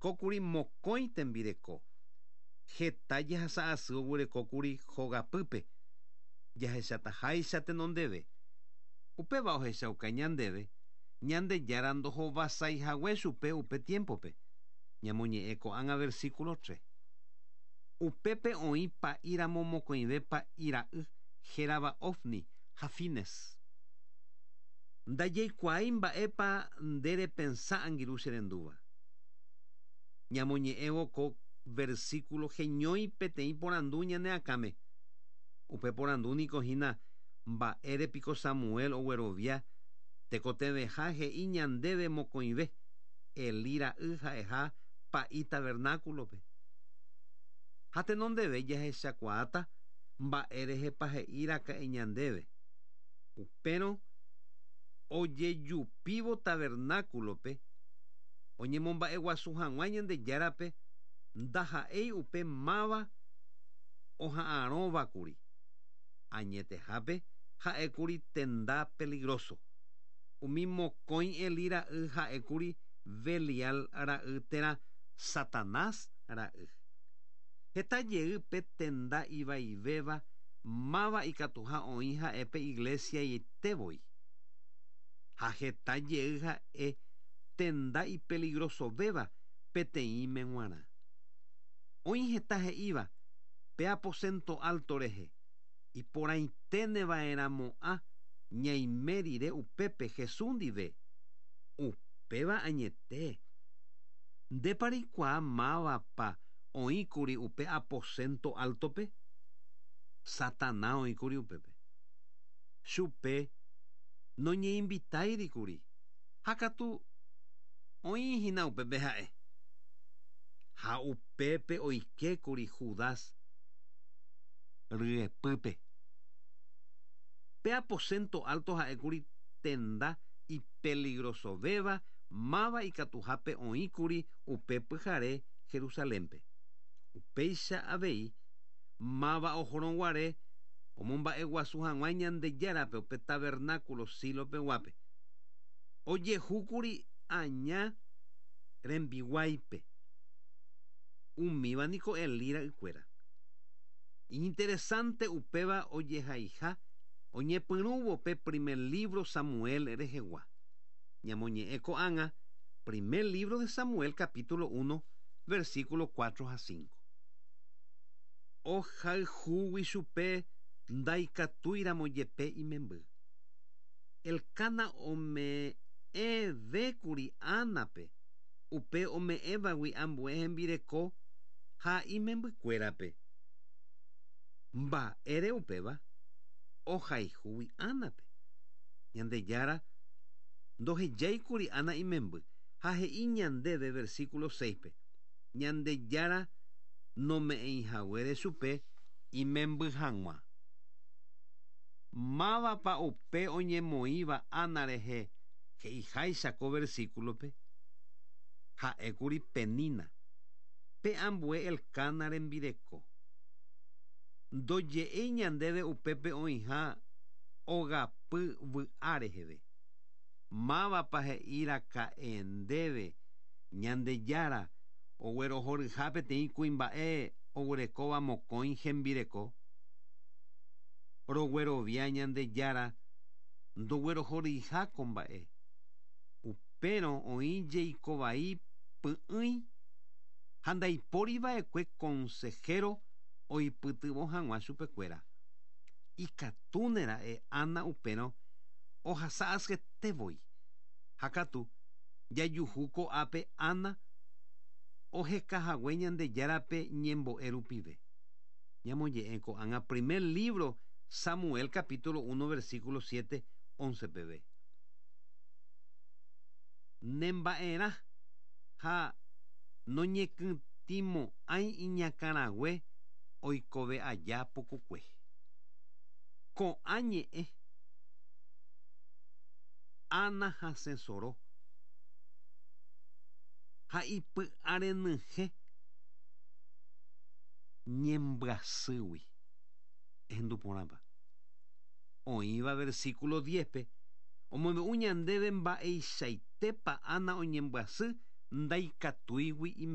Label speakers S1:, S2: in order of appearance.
S1: Oguerekókuri mokõi tembireko. Heta jehasa asy oguerekókuri hogapýpe, jahechataháicha tenondeve. Upéva ohechauka ñandéve Ñandejára ndohovasaihague chupe upe tiempo-pe. Ñamoñe'ẽ ko'ág̃a versículo 3. Upépe oĩ pa'íramo mokõive pa'i ra'y hérava Ofni ha Fines. Ndajaikuaái mba'épa nde repensa angirũ che rendúva. Ñamoñe'ẽvo ko versículo heñói peteĩ porandu ñane akãme. Upe porandu niko hína, Mba'ére piko Samuel oguerovia tekotevẽha he'i ñandéve mokõive Elí ra'y ha'eha pa'i tabernáculo-pe? Ha tenondeve jahechakuaáta mba'e rehepa he'i raka'e ñandéve. Upérõ ojejupívo tabernáculo-pe oñemomba'eguasu hag̃ua Ñandejárape ndaha'éi upe máva oha'arõvakuri. Añetehápe ha'ékuri tenda peligroso. Umi mokõi Elí ra'y ha'ékuri Belial ra'y térã Satanás ra'y. Heta jey pe tenda ivaivéva máva ikatuha oĩ ha'e pe iglesia-ite voi. Ha heta jey ha'e tenda ipeligrosovéva peteĩme g̃uarã. Oĩ heta he'íva pe aposento alto rehe, iporãiténeva'erãmo'ã ñaime rire upépe Jesús ndive. Upéva añete. Ndépa reikuaa mávapa oĩkuri upe aposento alto-pe? Satana oĩkuri upépe. Chupe noñeinvitáirikuri, ha katu oĩ hína upépe ha'e. Ha upépe oikékuri Judas ryepýpe. Pe aposento alto ha'ékuri tenda ipeligrosovéva máva ikatuhápe oĩkuri upe pyhare Jerusalén-pe. Upéicha avei, máva ohorõguare omomba'eguasu hag̃ua Ñandejárape upe tabernáculo Silo peguápe. Ojehúkuri aña rembiguáipe. Umíva niko Elí ra'ykuéra. Iñinteresánte upéva ojehaiha oñepyrũvo pe primer lívro Samuel rehegua. Ñamoñe'ẽ ko'ág̃a primer lívro de Samuel capítulo uno, versículo cuatro ha cinco. Ohayhúgui chupe ndaikatúiramo jepe imemby. Elcana ome'ẽvékuri Ánape upe ome'ẽvagui ambue hembireko ha imembykuérape. Mba'ére upéva? Ohayhúgui Ánape. Ñandejára ndohejáikuri Ana imemby ha he'i ñandéve versículo 6-pe, Ñandejára nome'ẽihaguére chupe imemby hag̃ua. Mávapa upe oñemoĩva Ana rehe he'iháicha ko versículo-pe? Ha'ékuri Penina, pe ambue Elcana rembireko. Ndoje'éi ñandéve upépe oĩha ogapy vy'a reheve. Mávapa he'i raka'e ndéve Ñandejára oguerohoryha peteĩ kuimba'e oguerekóva mokõi hembireko? Roguerovia Ñandejára ndoguerohoryiha ko mba'e. Upérõ oĩ jeiko vai py'ỹi ha ndaipóri va'ekue konsehéro oipytyvõ hag̃ua chupekuéra. Ikatúne ra'e Ana upérõ ohasa asyete voi. Ha katu, jajuhu ko'ápe Ana oheka hague Ñandejárape ñembo'e rupive. Ñamoñe'ẽ ko'ág̃a primer lívro Samuel capítulo uno versículo siete, once peve. Nemba'erã ha noñekytĩmo'ãi iñakãrague oikove aja pukukue. Ko'ã ñe'ẽ Ana hasẽ soro ha ipy'arenyhẽ ñembyasýgui. Ehendu porãpa. Oĩva versículo diez-pe omombe'u ñandéve mba'eichaitépa Ana oñembyasy. Ndaikatúigui imemby.